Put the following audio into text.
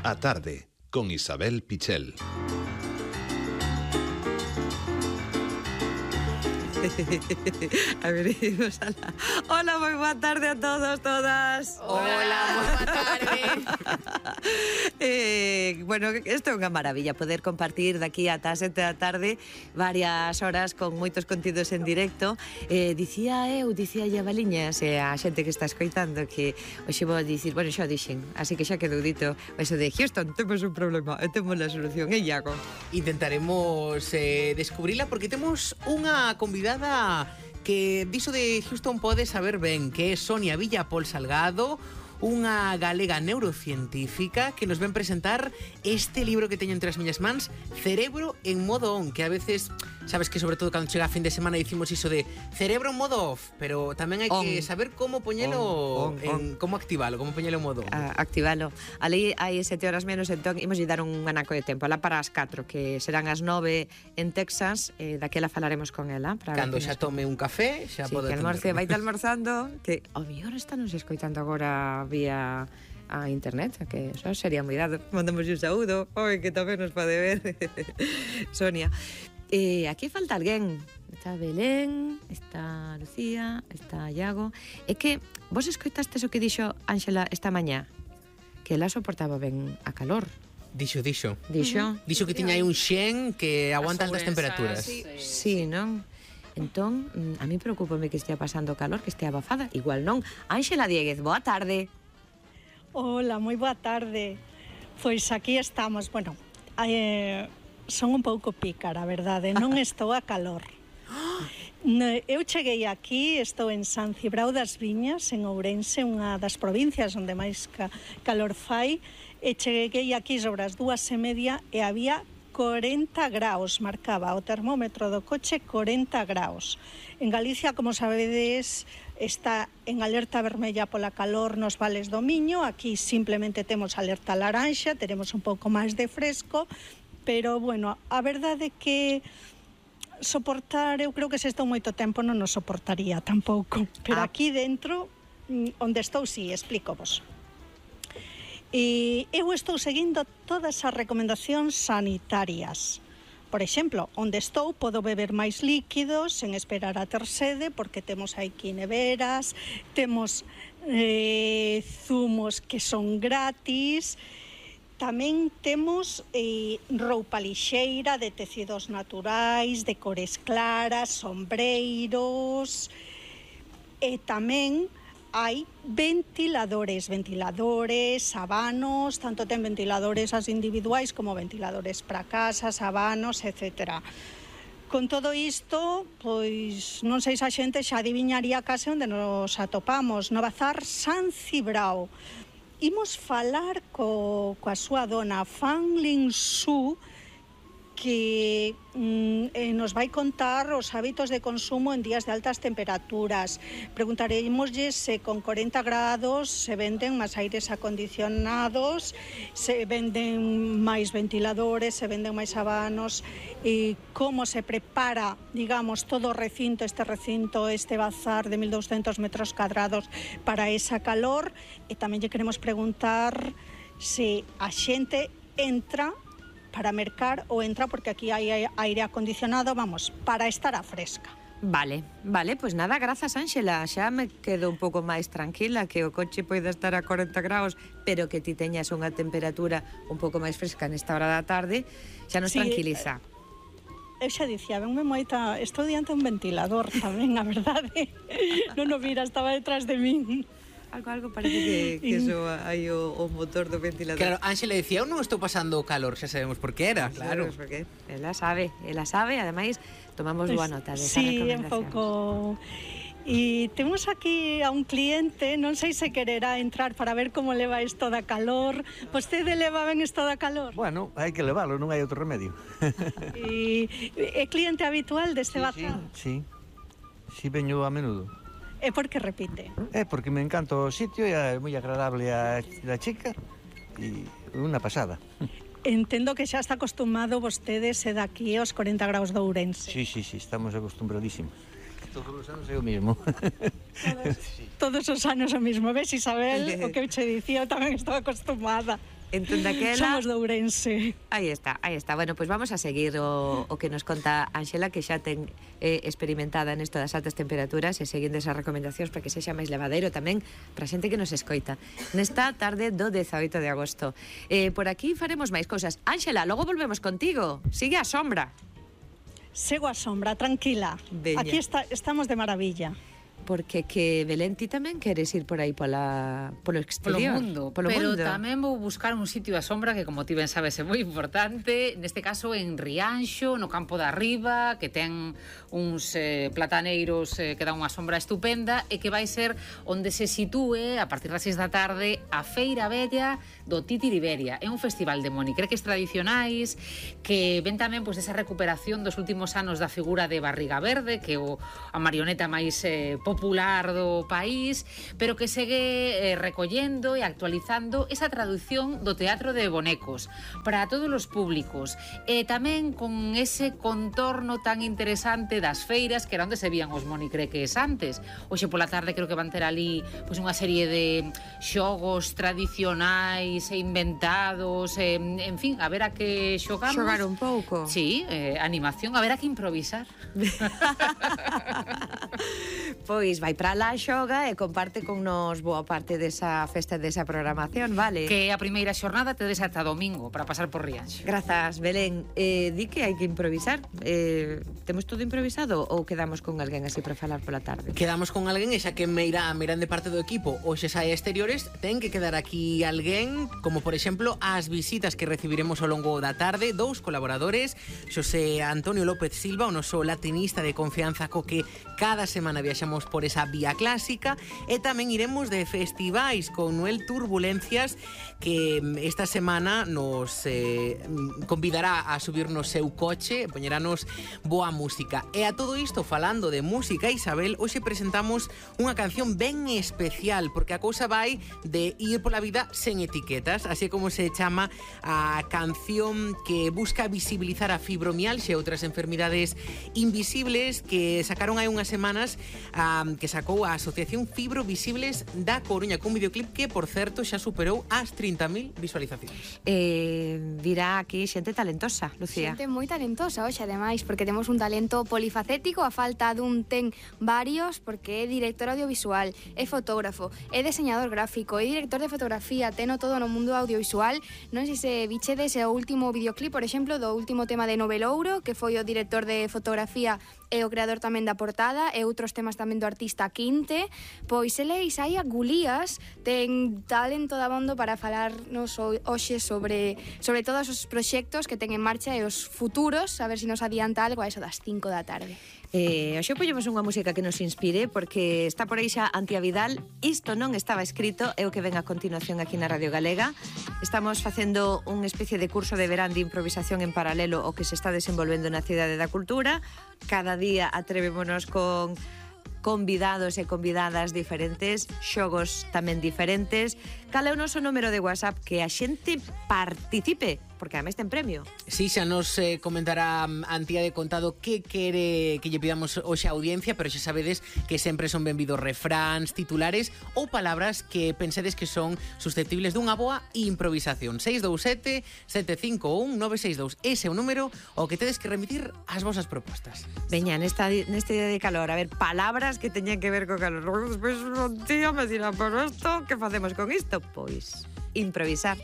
A tarde, con Isabel Pichel. A ver, hola, moi boa tarde a todos, todas. Hola, moi boa tarde. Bueno, isto é unha maravilla poder compartir daqui ata as 7 da tarde varias horas con moitos contidos en directo. Dicía Baliñas a xente que está escoitando que hoxe vou a dicir, bueno, xa o dixen, así que xa quedou dito eso de Houston, temos un problema e temos a solución, e Iago. Intentaremos descubrila porque temos unha convidada que diso de Houston pode saber ben, que é Sonia Villapol Salgado, unha galega neurocientífica que nos ven presentar este libro que teño entre as miñas mans, Cerebro en modo on, que a veces, sabes que sobre todo cando chega a fin de semana dicimos iso de cerebro en modo off, pero tamén hai que saber como poñelo como activalo, como poñelo en modo on. Activalo. Ali hai 7 horas menos, entón imos dar un anaco de tempo, alá para as 4, que serán as 9 en Texas, daquela falaremos con ela. Cando xa tome un café, xa pode que almorce, vaite almorzando, que ao mellor está nos escoitando agora vía a internet, que eso sería moi dado. Mandamos un saúdo, que tamén nos pode ver. Sonia. Aquí falta alguén. Está Belén, está Lucía, está Iago. É que vos escoitastes o que dixo Ángela esta mañá? Que ela soportaba ben a calor. Dixo que tiña aí un xen que aguanta altas temperaturas. Sí, non? Entón, a mí preocúpame que estea pasando calor, que estea abafada. Igual non. Ángela Dieguez, boa tarde. Hola, moi boa tarde. Pois aquí estamos. Bueno, son un pouco pícara, verdade? Non estou a calor. Eu cheguei aquí, estou en San Cibrao das Viñas, en Ourense, unha das provincias onde máis calor fai, e cheguei aquí sobre as 2:30 e había 40 graus, marcaba o termómetro do coche 40 graus. En Galicia, como sabedes, está en alerta vermella pola calor nos vales do Miño. Aquí simplemente temos alerta laranxa, teremos un pouco máis de fresco, pero, bueno, a verdade é que soportar, eu creo que se estou moito tempo non nos soportaría tampouco, pero aquí dentro, onde estou, sí, explícovos. E eu estou seguindo todas as recomendacións sanitarias. Por exemplo, onde estou podo beber máis líquidos sen esperar a ter sede, porque temos aquí neveras, temos zumos que son gratis, tamén temos roupa lixeira de tecidos naturais, de cores claras, sombreiros, e tamén hai ventiladores, abanos, tanto ten ventiladores as individuais como ventiladores para casas, abanos, etc. Con todo isto, pois non sei se a xente xa adiviñaría case onde nos atopamos, no Bazar San Cibrao. Imos falar coa súa dona, Fan Lin Su, que nos vai contar os hábitos de consumo en días de altas temperaturas. Preguntaremoslle se con 40 grados se venden máis aires acondicionados, se venden máis ventiladores, se venden máis abanos, e como se prepara, digamos, todo o recinto, este bazar de 1.200 metros cuadrados para esa calor. E tamén lle queremos preguntar se a xente entra para mercar ou entra porque aquí hai aire acondicionado, vamos, para estar a fresca. Vale, pois nada, grazas, Ángela. Xa me quedo un pouco máis tranquila, que o coche poida estar a 40 graus, pero que ti teñas unha temperatura un pouco máis fresca nesta hora da tarde, xa nos tranquiliza. Eu xa dicía, venme moita, estou diante un ventilador tamén, a verdade. Non o mira, estaba detrás de min. Algo parece que soa aí o motor do ventilador. Claro, Ángela decía, eu non estou pasando calor, xa sabemos por que era, claro. Sabemos por que. Ela sabe, ademais tomamos boa nota desa Sí, recomendación. un pouco. E temos aquí a un cliente, non sei se quererá entrar para ver como leva isto da calor. Vostede leva ben isto da calor? Bueno, hai que levalo, non hai outro remedio. E é cliente habitual deste bazar? Sí, veño a menudo. É porque repite? É porque me encanta o sitio e é moi agradable a chica e unha pasada. Entendo que xa está acostumado vostede se daqui aos 40 graus de Ourense. Sí, estamos acostumbradísimos. Todos os anos é o mismo. Todos os anos o mismo. Ves, Isabel, o que eu che dicía, eu tamén estou acostumada. Entón daquela... Somos de Ourense. Aí está. Bueno, pois vamos a seguir o que nos conta Ángela, que xa ten experimentada nesto das altas temperaturas e seguindo esas recomendacións para que sexa máis levadeiro tamén para a xente que nos escoita. Nesta tarde do 18 de agosto. Por aquí faremos máis cousas. Ángela, logo volvemos contigo. Sigue a sombra. Sego a sombra, tranquila. Veña. Aquí estamos de maravilla. Porque que Belén, ti tamén queres ir por aí polo exterior? Polo mundo. Tamén vou buscar un sitio a sombra que, como ti ben sabes, é moi importante. Neste caso, en Rianxo, no campo da Riba, que ten uns plataneiros que dan unha sombra estupenda e que vai ser onde se sitúe, a partir das 6 da tarde, a Feira Bella do Titiriberia. É un festival de monicreques tradicionais que ven tamén pois, esa recuperación dos últimos anos da figura de Barriga Verde, que é a marioneta máis popular do país, pero que segue recollendo e actualizando esa traducción do teatro de bonecos para todos os públicos e tamén con ese contorno tan interesante das feiras que era onde se vían os monicreques antes. Hoxe pola tarde creo que van ter ali pois, unha serie de xogos tradicionais e inventados, en fin, a ver a que xogamos. Xogar un pouco. Sí, animación, a ver a que improvisar. Pois vai para lá, xoga e comparte con nos boa parte desa festa, desa programación, vale? Que a primeira xornada te des ata domingo para pasar por Rianxo. Grazas, Belén. Di que hai que improvisar. Temos todo improvisado ou quedamos con alguén así para falar pola tarde? Quedamos con alguén e xa que meirán de parte do equipo hoxe sai a exteriores, ten que quedar aquí alguén, como por exemplo as visitas que recibiremos ao longo da tarde, dous colaboradores, Xosé Antonio López Silva, o noso latinista de confianza co que cada semana viaxamos por esa vía clásica, e tamén iremos de festivais con Noel Turbulencias, que esta semana nos convidará a subir no seu coche e poñeranos boa música. E a todo isto, falando de música, Isabel, hoxe presentamos unha canción ben especial, porque a cousa vai de ir pola vida sen etiquetas, así como se chama a canción que busca visibilizar a fibromialgia e outras enfermidades invisibles que sacaron hai unhas semanas, que sacou a Asociación Fibro Visibles da Coruña, cun videoclip que, por certo, xa superou as 30.000 visualizacións. Virá aquí xente talentosa, Lucía. Xente moi talentosa hoxe, ademais, porque temos un talento polifacético, a falta dun ten varios, porque é director audiovisual, é fotógrafo, é diseñador gráfico, é director de fotografía, teno todo no mundo audiovisual. Non sei se bichedes o último videoclip, por exemplo, do último tema de Novelouro, que foi o director de fotografía e o creador tamén da portada, e outros temas tamén do artista Quinte. Pois ele Isaia Gulías ten talento dabondo para falarnos hoxe sobre todos os proxectos que ten en marcha e os futuros, a ver se nos adianta algo a eso das 5 da tarde. Hoxe poñemos unha música que nos inspire, porque está por aí xa Antía Vidal. Isto non estaba escrito, é o que ven a continuación aquí na Radio Galega. Estamos facendo unha especie de curso de verán de improvisación en paralelo ao que se está desenvolvendo na Cidade da Cultura. Cada día atrevémonos con convidados e convidadas diferentes, xogos tamén diferentes. Cal é o noso número de WhatsApp? Que a xente participe, porque ademais ten premio. Si, xa nos comentará Antía de Contado que quere que lle pidamos hoxe a audiencia, pero xa sabedes que sempre son benvidos refráns, titulares ou palabras que pensedes que son susceptibles dunha boa improvisación. 627 751 962. Ese é o número ao que tedes que remitir as vosas propostas. Veña, neste día de calor, a ver, palabras que teñan que ver co calor. Despois un tío me dirá, pero isto, que facemos con isto? Pois, improvisar.